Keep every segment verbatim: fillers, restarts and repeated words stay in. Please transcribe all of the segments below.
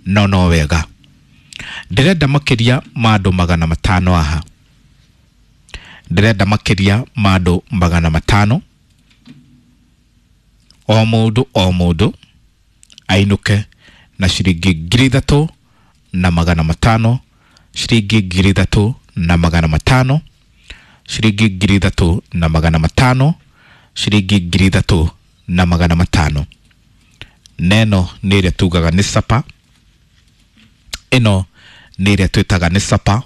No no wega, ndĩrenda makĩria ma andũ magana matano haha, ndĩrenda makĩria ma andũ magana matano, o mũndũ o mũndũ ainũke na ciringi ngiri ithatũ na magana matano, ciringi ngiri ithatũ na magana matano, ciringi ngiri ithatũ na magana matano, ciringi ngiri ithatũ na magana matano. Neno nĩ ĩrĩa tugaga nĩ sapa, ĩno nĩ ĩrĩa twĩtaga nĩ sapa,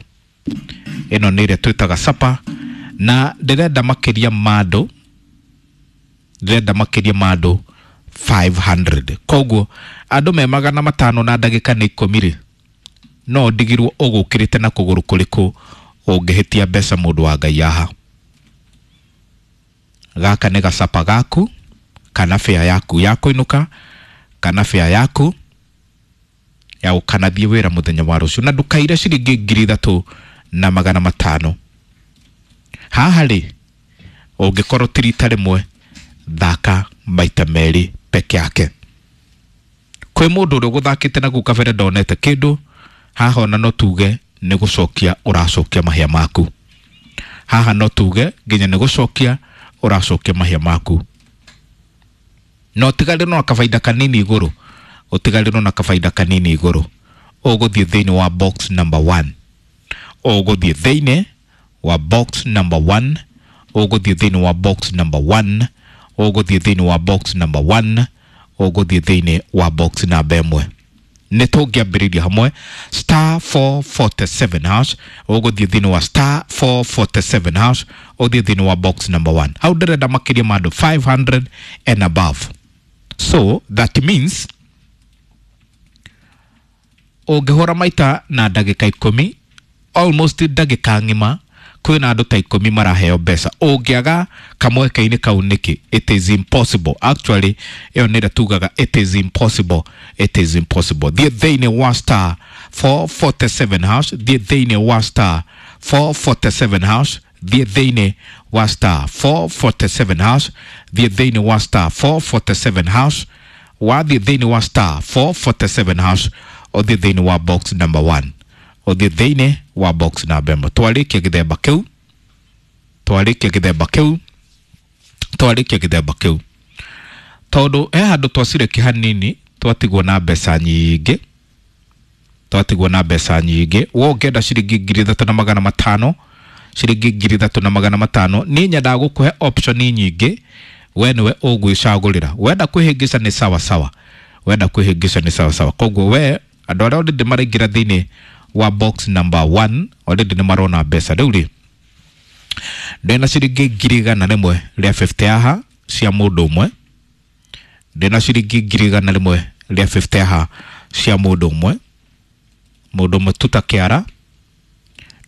ĩno nĩ ĩrĩa twĩtaga sapa. Na ndĩrenda makĩria ma andũ, ndĩrenda makĩria ma andũ five hundred. Koguo andũ me magana matano na ndagĩka nĩ ikũmi rĩ, no ndigirwo ũgũkĩrĩte na kũgũrũ kũrĩkũ ũngĩhĩtia mbeca mũndũ wa Ngai haha. Gaka nĩ gacapa gaku kana fare yaku ya kũinũka kana fare yaku ya gũkanathiĩ wĩra mũthenya wa rũciũ, na ndũkaire ciringi ngiri ithatũ na magana matano. Haha rĩ, ũngĩkorwo ti rita rĩmwe, thaka maita merĩ peke yake. Kwĩ mũndũ ũrĩa ũgũthakĩte na kũu kabere ndonete kĩndũ, haha ona no tuge nĩ gũcokia ũracokia mahĩa maku. Haha no tuge nginya nĩ gũcokia ũracokia mahĩa maku. No ũtigarĩrwo na kabaida kanini igũrũ, ũtigarĩrwo na kabaida kanini igũrũ. Ũgũthiĩ thĩinĩ wa box number one, ũgũthiĩ thĩinĩ wa box number one, ũgũthiĩ thĩinĩ wa box number one, ũgũthiĩ thĩinĩ wa box number one, ũgũthiĩ thĩinĩ wa box namba ĩmwe. Nĩ tũngĩambĩrĩria hamwe star four forty-seven hash, ũgũthiĩ thĩinĩ wa star four forty-seven hash, ũthiĩ thĩinĩ wa box number one. Hau ndĩrenda makĩria ma andũ five hundred and above. So that means ũngĩhũra maita na ndagĩka ikũmi, almost ndagĩka ng'ima, kwĩna andũ ta ikũmi maraheo mbeca. Ũngĩaga kamweke-inĩ kau nĩkĩ? It is impossible. Actually, ĩyo nĩ ĩrĩa tugaga it is impossible. It is impossible. Thiĩ thĩinĩ wa star four forty-seven hash, thiĩ thĩinĩ wa star four forty-seven hash, thiĩ thĩinĩ wa star four forty-seven hash, thiĩ thĩinĩ wa star four forty-seven hash, wathiĩ thĩinĩ wa star four forty-seven hash, ũthiĩ thĩinĩ wa box number one, ũthiĩ thĩinĩ wa box number ĩmwe. Twarĩkia gĩthemba kĩu, twarĩkia gĩthemba kĩu, twarĩkia gĩthemba kĩu, tondũ he handũ twacireki hanini twatigwo na mbeca nyingĩ, twatigwo na mbeca nyingĩ. We ũngĩenda ciringi ngiri ithatũ na magana matano, ciringi ngiri ithatũ na magana matano, niĩ nyendaga gũkũhe option nyingĩ, we nĩwe ũgwĩcagũrĩra. Wenda kwĩhĩngĩca nĩ sawa sawa, wenda kwĩhĩngĩca nĩ sawa sawa. Koguo we andũ arĩa already maraingĩra thĩinĩ wa box number one already nĩ marona mbeca. Rĩu rĩ, ndĩna ciringi ngiri igana rĩmwe rĩa fifty haha cia mũndũ ũmwe, ndĩna ciringi ngiri igana rĩmwe rĩa fifty haha cia mũndũ ũmwe, mũndũ ũmwe tu ta kĩara,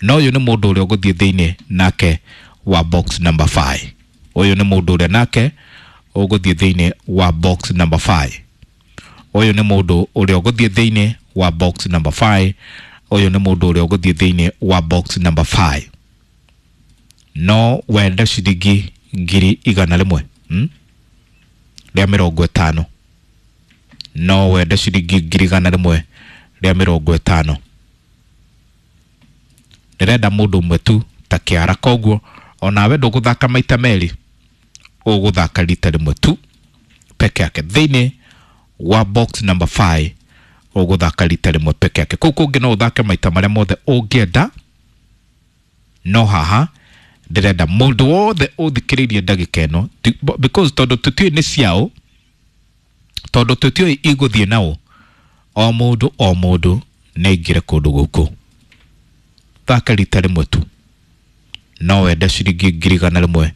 na ũyũ nĩ mũndũ ũrĩa ũgũthiĩ thĩinĩ nake wa box number five. Ũyũ nĩ mũndũ ũrĩa nake ũgũthiĩ thĩinĩ wa box number five. Ũyũ nĩ mũndũ ũrĩa ũgũthiĩ thĩinĩ wa box number five. Ũyũ nĩ mũndũ ũrĩa ũgũthiĩ thĩinĩ wa box number five. No wende ciringi ngiri igana rĩmwe, hmm? rĩa mĩrongo ĩtano. No wende ciringi ngiri igana rĩmwe rĩa mĩrongo ĩtano. Ndĩrenda mũndũ ũmwe tu ta kĩara, koguo onawe ndũgũthaka maita merĩ, ũgũthaka rita rĩmwe tu peke yake thĩinĩ wa box number five. Ũgũthaka rita rĩmwe peke yake. Kũu kũngĩ no ũthake maita marĩa mothe ũngĩenda, no haha ndĩrenda mũndũ wothe ũthikĩrĩirie ndagĩka ĩno, because tondũ tũtiũĩ nĩ ciao, tondũ tũtiũĩ igũthiĩ nao, o mũndũ o mũndũ nĩ aingĩre kũndũ gũkũ. Thaka rita rĩmwe tu. No wende ciringi ngiri igana rĩmwe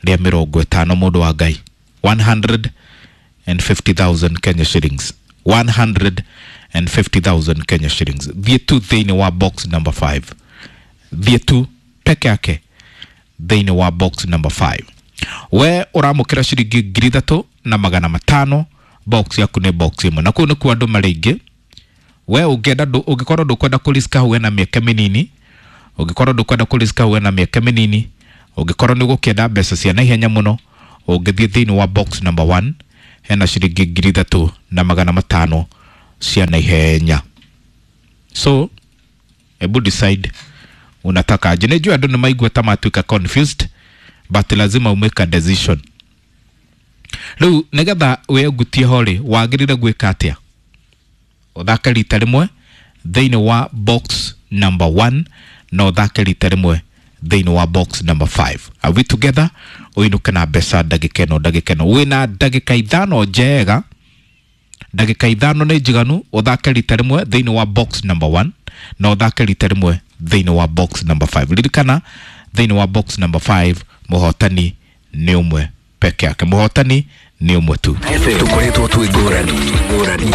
rĩa mĩrongo ĩtano mũndũ wa Ngai, one hundred and fifty thousand Kenya shillings, one hundred and fifty thousand Kenya shillings. Thiĩ tu thĩinĩ wa box number five, thiĩ tu peke yake thĩinĩ wa box number five. We ũramũkĩra ciringi ngiri ithatũ na magana matano, box yaku nĩ box ĩmwe, na kũu nĩkuo andũ marĩ aingĩ. We ũngĩenda ndũ-, ũngĩkorwo ndũkwenda kũriska hau wena mĩeke mĩnini, ũngĩkorwo ndũkwenda kũriska hau wena mĩeke mĩnini, ũngĩkorwo nĩ ũgũkĩenda mbeca cia naihenya mũno, ũngĩthiĩ thĩinĩ wa box number one, hena ciringi ngiri ithatũ na magana matano cia naihenya. So hebu decide unataka aje. Nijua andũ nĩ maigua ta matuĩka confused, but lazima umake a decision. Rĩu nĩgetha wĩgutie ho rĩ, wagĩrĩire gwĩka atĩa? Ũthake rita rĩmwe thĩinĩ wa box number one na ũthake rita rĩmwe thĩinĩ wa box number five. Are we together? Ũinũke na mbeca ndagĩka ĩno, ndagĩka ĩno wĩna ndagĩka ithano njega, ndagĩka ithano nĩ njiganu. Ũthake rita rĩmwe thĩinĩ wa box number one na ũthake rita rĩmwe thĩinĩ wa box number five. Ririkana thĩinĩ wa box number five mũhotani nĩ ũmwe peke yake, mũhotani nĩ ũmwe tu. Tũkoretwo twĩ ngũrani ngũrani.